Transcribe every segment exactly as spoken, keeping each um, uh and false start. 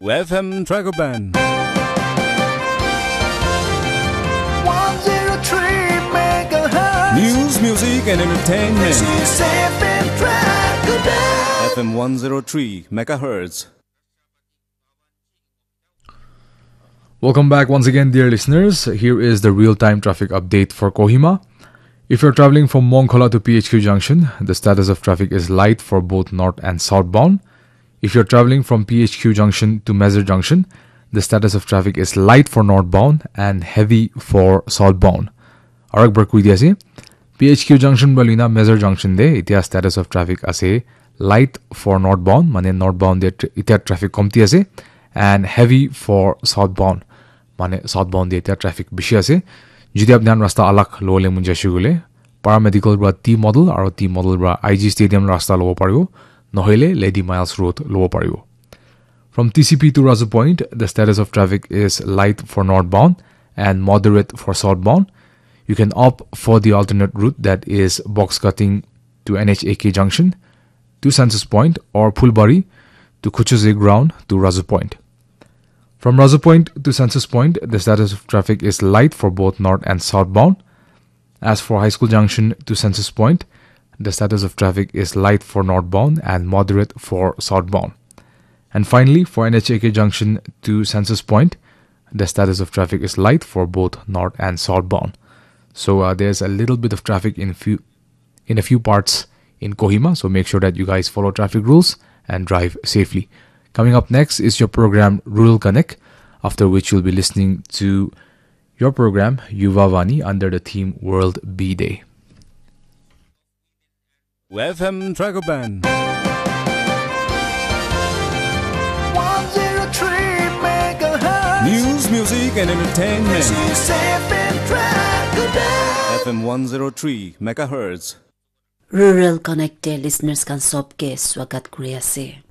F M Dragoban. one zero three megahertz. News, music, and entertainment. This is F M Dragoban. F M one zero three megahertz. Welcome back once again, dear listeners. Here is the real time traffic update for Kohima. If you're traveling from Mongkhola to P H Q junction, the status of traffic is light for both north and southbound. If you're traveling from P H Q junction to Mezar junction, the status of traffic is light for northbound and heavy for southbound. Arak bar kui di ase. P H Q junction balina Mezar junction de itia status of traffic ase light for northbound, mane northbound de tr- itia traffic komti ase, and heavy for southbound, mane southbound de itia traffic bishi ase. Jodi apni khan rasta alak lole munjashu gule, Paramedical bra T model aro T model bra I G Stadium rasta lobo paribo, nohole Lady Miles Road lobo paribo. From T C P to Razu Point, the status of traffic is light for northbound and moderate for southbound. You can opt for the alternate route, that is box cutting to N H A K junction to Census Point or Phulbari to Khuchuzi ground to Razu Point. From Razu Point to Census Point, the status of traffic is light for both north and southbound. As for High School Junction to Census Point, the status of traffic is light for northbound and moderate for southbound. And finally, for N H A K Junction to Census Point, the status of traffic is light for both north and southbound. So uh, there's a little bit of traffic in few in a few parts in Kohima. So make sure that you guys follow traffic rules and drive safely. Coming up next is your program Rural Connect, after which you'll be listening to your program Yuva Vani under the theme World Bee Day. F M Dragoban. one zero three megahertz. News, music, and entertainment. This is F M Dragoban. F M one zero three megahertz. Rural Connect te listeners khan sob ke swagat kuri ase.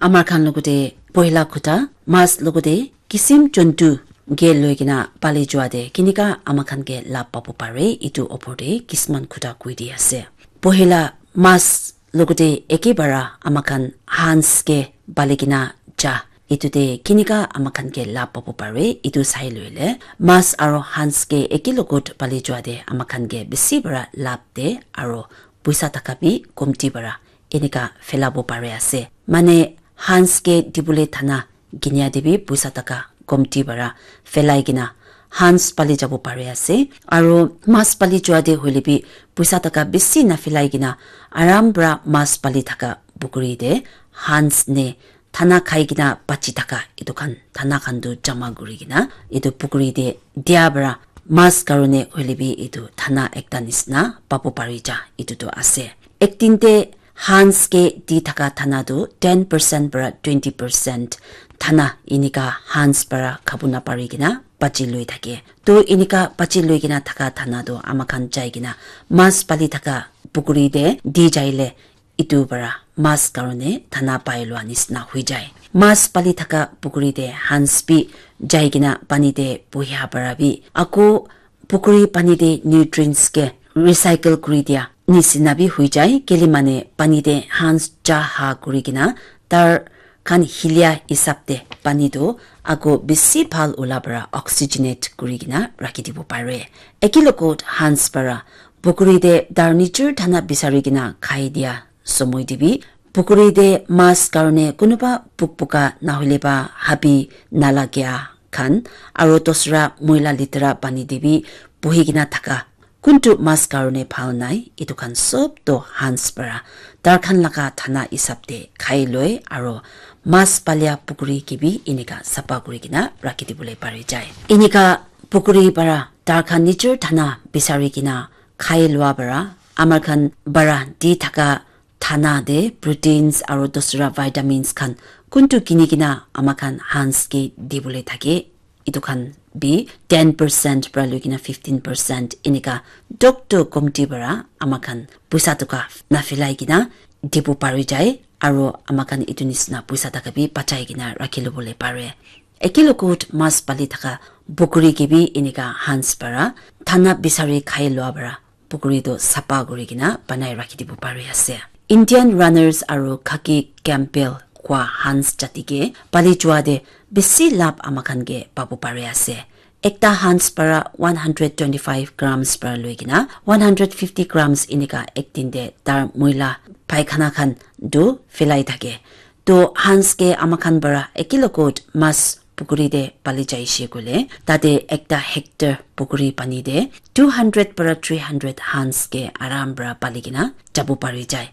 Amar khan logote pohila khuta mas logote kisim jontu ke loi kena pali jua de kinika ama khan ke lab pabo pare, itu opor te kisman khuta koi di ase. Pohila mas logote eke bara ama khan hans ke pali kena ja, itu te kinika ama khan ke lab pabo pare itu sai loile mas aro hans ke eke logot pali jua de ama khan ke bisi bara lab de aro puisa taka bi komti bara enika phelabo pare ase. Mane hans ke dibole thana kinia de bi puisa taka komti para phelai kena hans pali jabo pare ase. Aro mas pali jua de hoile bi puisa taka bisi na phelai kena aram para mas pali thaka pukuri de hans ne thana khai kena bachi thaka etu khan thana khan tu jama kuri kena etu pukuri de dia para mas karone hoile bi etu thana ekta nisna pabo pari ja etu tu ase. Ek din te hans ke di thaka thana tu ten percent para twenty percent thana inika hans para khabu na pari kena bachi lui thake. To inika bachi lui kena thaka thana tu ama khan jai kena mas pali thaka pukuri de di jaile itu para mas karone thana pai lua nisna hui jai. Mas pali thaka pukuri de hans bi jai kena pani de buhia para bi ako pukuri pani de nutrients ke recycle kuri dia nisina bi hui jai, keli mane pani de hans ja ha kuri kena tar khan hilia hisab de pani tu ako bisi bhal ula para oxygenate kuri kena rakhi dibo pare. Eki logot hans para pukuri de tar nijor thana bisari kena khai dia somoi de bi pukuri de mas karone kunuba pukpuka nahole ba habi nalagia khan aro dosra moila litera pani de bi buhi kena thaka kuntu mas karone bhal nai, etu khan sob to hans para tar khan laga thana hisab de khai loi aro mas palia pukuri ke bi enika sapa kuri kena rakhi dibole pari jai. Enika pukuri para tar khan nijor thana bisari kena khai lua para amar khan para di thaka thana de proteins aro dosra vitamins khan kuntu kini kena ama khan hans ke dibole thake. Etu khan bi ten percent para lui kena fifteen percent enika doctor komti para ama khan puisa toka na phelai kena dibo pari jai aro ama khan etu nisna puisa taka bi bachai kena rakhi lobole pare. Eki logot mas pali thaka pukuri ke bi enika hans para thana bisari khai lua para pukuri tu sapa kuri kena banai rakhi dibo pari ase. Indian Runners aru Khaki Campbell kua Hans jati ke pali jua te bisi lab amakhan ke pabu pari ase. Ekta Hans para one hundred twenty-five grams para loi kena one hundred fifty grams inika ek din te tar muila paikhana khan tu filai thake. To Hans ke amakhan para ekilogot mas pukuri te pali jaishe koile, tate ekta hectare pukuri pani te two hundred para three hundred Hans ke aram para pali kena jabu pari jai.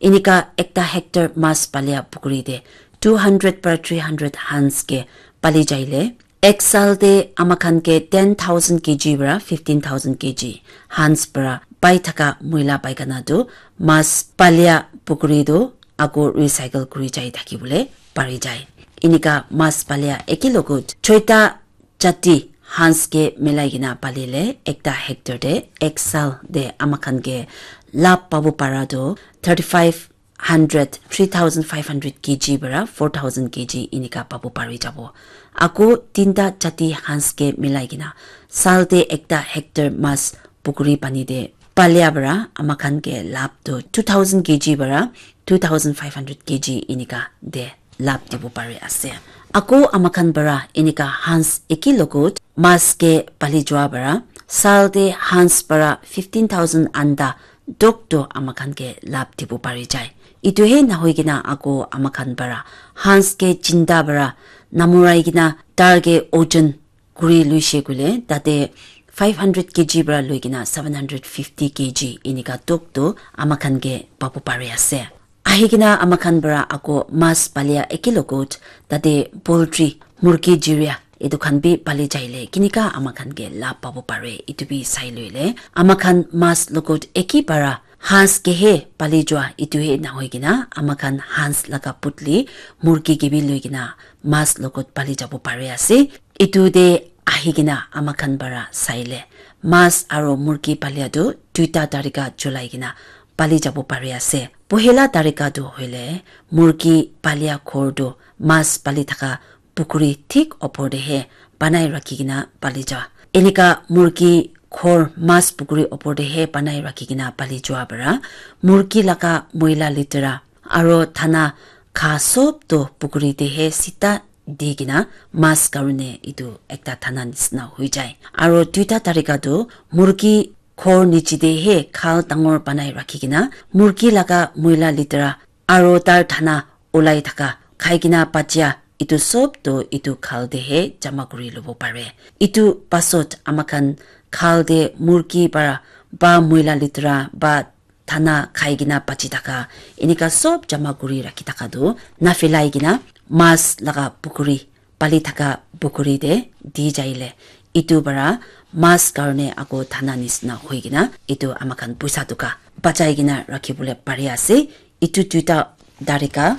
Inika ekta hectare mas palia pukuri te two hundred para three hundred Hans ke pali jaile, ek sal te amakhan ke ten thousand K G para fifteen thousand K G Hans para pai thaka muila paikana tu mas palia pukuri tu ako recycle kuri jai thaki bole pari jai. Inika mas palia ekilogot choita jati Hans ke milai kena palile ekta hectare te ek sal te amakhan ke lab pabu para tu thirty-five hundred, three thousand five hundred K G para four thousand K G inika pabu pari jabo. Ako tinta jati Hans ke milai kena sal te ekta hectare mas pukuri pani te palia para amakhan ke lab tu two thousand K G para two thousand five hundred K G inika de lab dibo pari ase. Ako amakhan para inika Hans ekilogot mas ke pali jua para sal te Hans para fifteen thousand anda dok to amakhan ke lab dibo pari jai. Itu he nahoi kena ako amakhan para Hans ke jinda para namurai kena tar ke ojon kuri luishe koile tate five hundred K G para loi kena seven hundred fifty K G inika tok to amakhan ke pabu pari ase. Ahi kena amakhan para ako mas palia ekilogot tate poultry, murgi jiria etu khan bi pali jaile kinika amakhan ke lab pabu pare itu bi sai loile amakhan mas logot eki para Hans ke he pali jua itu he nahoi kena amakhan Hans laga putli murgi ke bi loi kena mas logot pali jabo pari ase. Itu te ahi kena amakhan para saile mas aro murgi palia tu duita tarika cholai kena pali jabo pari ase. Pohela tarika tu hoile murgi palia ghor tu mas pali thaka pukuri thik opor te he banai rakhi kena pali ja. Enika murgi ghor mas pukuri opor te he banai rakhi kena pali jua para murgi laga moila litera aro thana kha sob to pukuri te he sita di kena mas karone itu ekta thana nisina hoi jai. Aro duita tarika tu murgi ghor niche te he khal dangor banai rakhi kena murgi laga moila litera aro tar thana ulai thaka khai kena bachia itu sob to itu khal te he jama kuri lobo pare. Itu pasot amakhan khal te murgi para ba moila litera ba thana khai kena bachi thaka enika sob jama kuri rakhi thaka tu nafilai kena mas laga pukuri pali thaka pukuri te di jaile itu para mas karone ako thana nisina hoi kena itu amakhan puisa tuka bachai kena rakhi bole pari ase. Itu duita tarika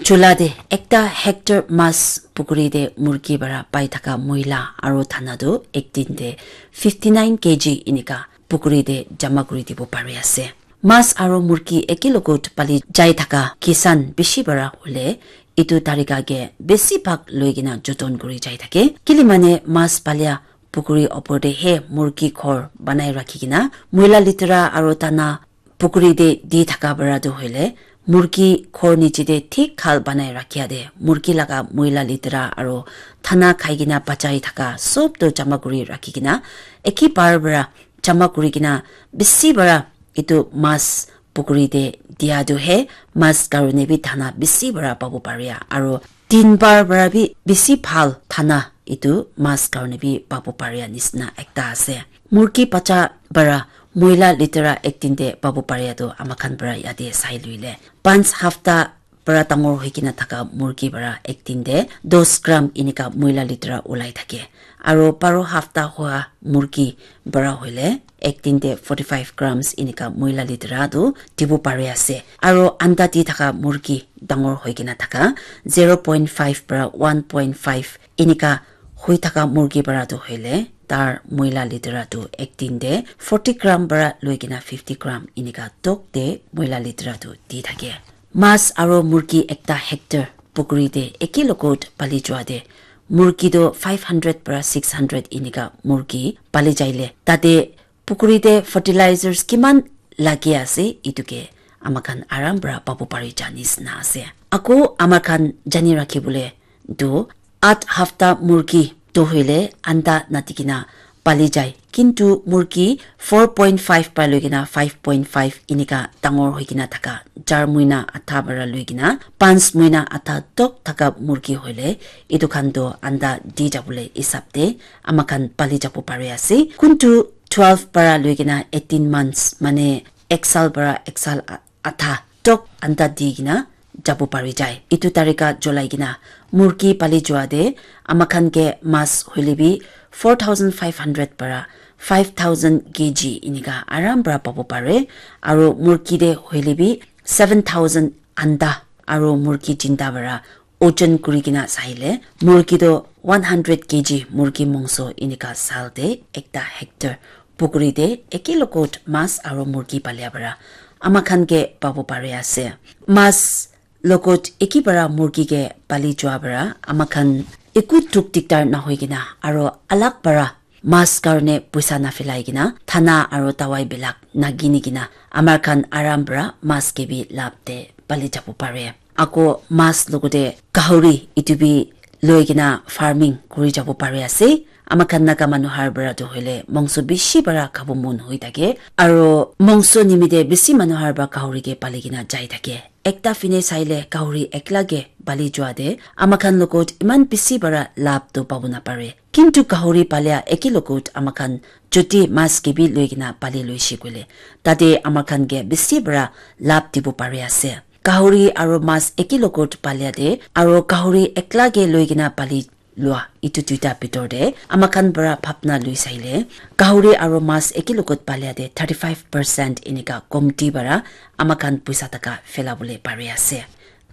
chula te ekta hectare mas pukuri te murgi para pai thaka moila aro thana tu ek din te fifty nine K G inika pukuri te jama kuri dibo pari ase. Mas aro murgi ekilogot pali jai thaka kisan bishi para hole itu tarika ke besi bhag loi kena joton kuri jai thake. Kili mane mas palia pukuri opor te he murgi ghor banai rakhi kena moila litera aro thana pukuri te di thaka para tu hoile murgi ghor niche te thik khal banai rakhia te murgi laga moila litera aro thana khai kena bachai thaka sob to jama kuri rakhi kena eki bar para jama kuri kena bisi para itu mas pukuri te dia tu he mas karone bi thana bisi para pabo paria aro tin bar para bi bisi bhal thana itu mas karone bi pabo paria nisina ekta ase. Murgi bacha para moila litera ek din te pabo paria tu amakhan para yate sai luile panch hafta para dangor hoi kena thaka murgi para ek din te dos gram inika moila litera ulai thake. Aro baro hafta hoa murgi para hoile ek din te forty five grams inika moila litera tu dibo pari ase. Aro anda di thaka murgi dangor hoi kena thaka zero point five para one point five inika hoi thaka murgi para tu hoile tar moila litera tu ek din te forty gram para loi kena fifty gram inika tok te moila litera tu di thake. Mas aro murgi ekta hectare pukuri te ekilogot pali jua te murgi to five hundred para six hundred inika murgi pali jaile tate pukuri te fertilizers kiman lagi ase itu ke ama khan aram para pabu pari ja nisna ase. Ako ama khan jani rakhi bole tu at hafta murgi tu hoile anda nati kena pali jai. Kintu murgi four point five para loi kena five point five inika dangor hoi kena thaka, char muina atha para loi kena panch muina atha tok thaka murgi hoile etu khan tu anda di jabole hisab te ama khan pali jabo pari ase. Kuntu twelve para loi kena eighteen months, mane ek sal para ek sal a- atha tok anda di kena jabo pari jai. Etu tarika cholai kena murgi pali jua te ama khan ke mas hoile bi four thousand five hundred para five thousand K G inika aram para pabo pare. Aro murgi te hoile bi seven thousand anda aro murgi jinda para ojon kuri kena saile murgi to one hundred K G murgi mongso inika sal te ekta hectare pukuri te eke logot mas aro murgi palia para ama khan ke pabo pari ase. Mas logot eke para murgi ke pali jua para ama khan eku duk dikdar nahoi kena aro alag para mas karne puisa nafilai kena thana aro dawai bilak nagini kena amar khan aram para mas ke bi lab te pali jabo pare. Ako mas logote gahori etu bi loi kena farming kuri jabo pari ase. Ama khan Naga manu har para tu hoile mongso bishi para khabo mon hoi thake. Aro mongso nimite bishi manu har para gahori ke pali kena jai thake. Ekta fine saile gahori ekla ke pali jua te ama khan logot iman bishi para lab tu pabo napare. Kintu gahori palia eke logot ama khan joti mas ke bi loi kena pali loi shi koile tate ama khan ke bishi para lab dibo pari ase. Gahori aro mas eke logot palia te aro gahori ekla ke loi kena pali lua etu duita bitor te ama khan para bhapna lui saile gahori aro mas eke logot palia te thirty five percent enika komti para ama khan puisa taka phela bole pari ase.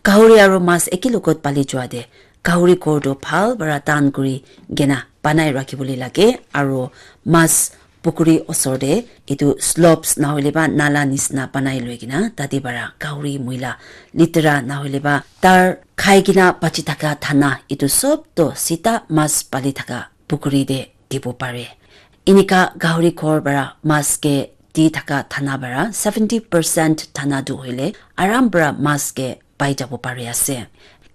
Gahori aro mas eke logot pali jua te gahori ghor to bhal para tan kuri kena banai rakhi bole lage aro mas pukuri osor te etu slopes nahoile ba nala nisna banai loi kena tate para gahori muila litera nahoile ba tar khai kena bachi thaka thana etu sob to sita mas pali thaka pukuri te dibo pare. Enika gahori ghor para mas ke di thaka thana para seventy percent thana tu hoile aram para mas ke pai jabo pari ase.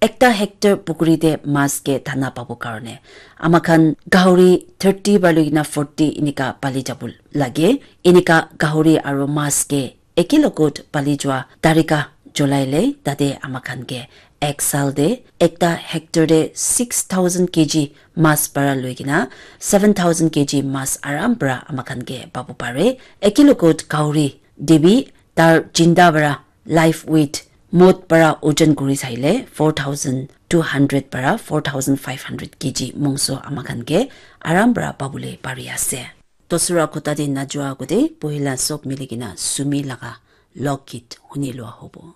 Ekta hectare pukuri te mas ke thana pabo karne ama khan gahori thirty para loi kena forty enika pali jabo lage. Enika gahori aro mas ke eke logot pali jua tarika cholai le tate ama khan ke ek sal te ekta hectare te six thousand K G mas para loi kena seven thousand K G mas aram para ama khan ke pabo pare. Eke logot gahori te bi tar jinda para live weight mot para ojon kuri saile four thousand two hundred para four thousand five hundred K G mongso ama khan ke aram para pabole pari ase. Tosura kota te najua agute pohila sob mili kena sumi laga lok git huni lua hobo.